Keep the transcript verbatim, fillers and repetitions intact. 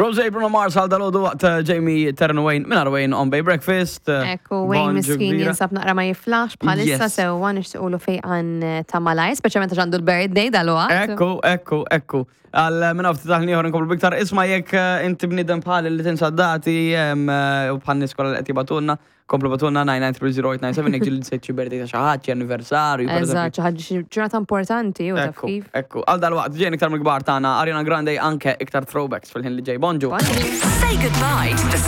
Rose Bruno Mars għal dal-għodu waqt eh, Jamie Terran Wayne minn Wayne on Bay Breakfast. eh, Ekku, Wayne Bonġu miskin kbira. Jinsab naqra ma jiflaħx bħalissa. Yes. Sewwa, nixtiqulu fejqan eh, ta' malaj, speċjalment għax għandu l-birthday dal-waqt. Ekku, ekku, ekku. Għal minn ftit taħni ieħor nkomplu biktar. Isma', jekk eh, inti bniedem bħal li tinsa dati em, eh, u bħal nies kollha li qed jibagħtulna, komplu ibagħtulna nine nine three zero eight nine seven jekk ġieli nsejt xi birthday ta' xi ħadd, xi anniversarju, per eżempju. Eżatt, xi ħaġa, xi ġurnata importanti u taf Ekku, kif. Ekku. Għal dal-waqt ġejn iktar mill-kbar tagħna Ariana Grande, anke iktar throwbacks fil-ħin li ġej. Bonġu. Bonġu. Say goodbye to the